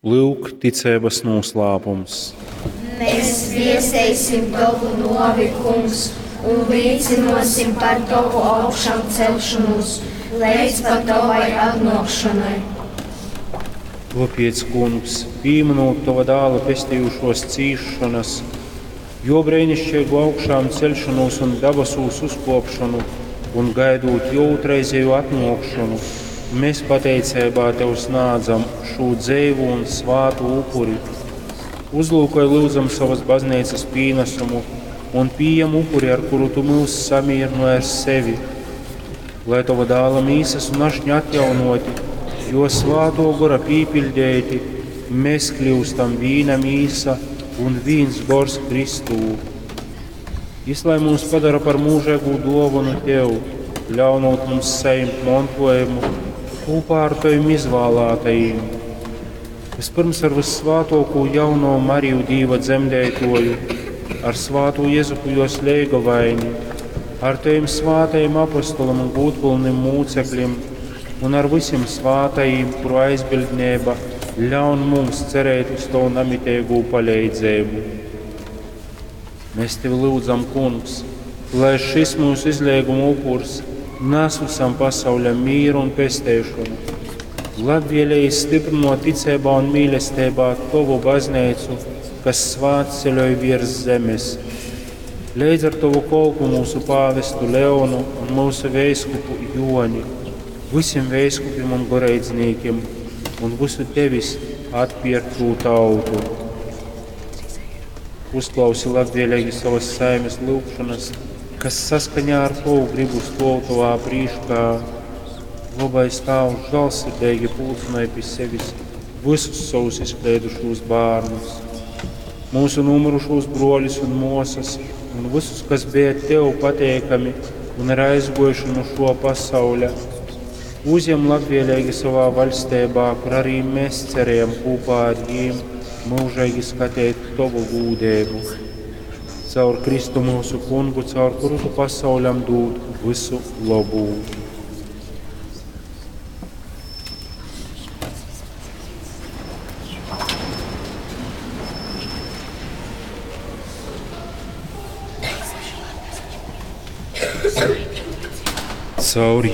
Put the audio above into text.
Lyuk, ticeibas nūslāpums. Mēs viesteisim tovu nōvi, Kungs, un līcynōsim par tovu augšamceļšonūs leidz pat tovai atnōkšonai. Tōpēc, Kungs, pīmynūt tova dāla pestejušōs cīsšonas, jō breinišķeigu augšāmceļšonūs un dabasūs uzkōpšonu un gaidūt jō ūtrreizejū atnōkšonu, mēs pateiceibā tev snādzam šū dzeivū un svātū upuri. Uzlūkoj, lyudzam, sovas bazneicas pīnasumu un pījem upuri, ar kuru tu myus samīrynoj ar sevi. Lai tova dāla mīsas un ašņa atjaunoti, jo svātō gora pīpiļdeiti, mēs kļūstam vīna mīsa un vīns gors Kristū. Jis lai mūs padara par mūžīgu dōvanu tev, ļaunot mums sajimt montojumu kūpā ar tavim izvēlētajiem. Vispirms ar vyssvātōkū jauno Mariju Dīva dzemdētoju, ar svātū Jezupu jos leigavaini, ar tavim svātajim apostolim un gūdpilnim mūcekļim un ar vysim svātajim, kuru aizbildneiba ļaun mums cerēt uz tavu namiteigū paleidzeibu. Mēs tevi lūdzam, Kungs, lai šis mūsu izleiguma upurs nes visam pasauļam mīru un pesteišonu. Labvēlīgi stiprinot ticībā un mīlestībā tovu baznīcu, kas svētceļoj virs zemes. Leidz ar tovu kolpu mūsu pāvestu Leonu un mūsu veiskupu Joni, visiem veiskupiem un goreidznīkiem un visu tevis atpirkto tautu. Uzklausi labvēlīgi savas saimes lūgšanas, kas saskaņā ar tavu gribu stov tavā prīškā. Labais Tēvs žēlsirdīgi pulcināja pie sevis visus savus izkleidušos bērnus, mūsu nomirušos broļus un mosas, un visus, kas bija tev pateikami un ir aizgojuši no šo pasauļa. Uzņem labvēlīgi savā vaļstībā, kur arī mēs cerējam kopā ar viņiem mūžīgi skatīt tavu gūdību. Caur Kristu mūsu kungu, caur kuru tu pasauļam dod visu labu. Caur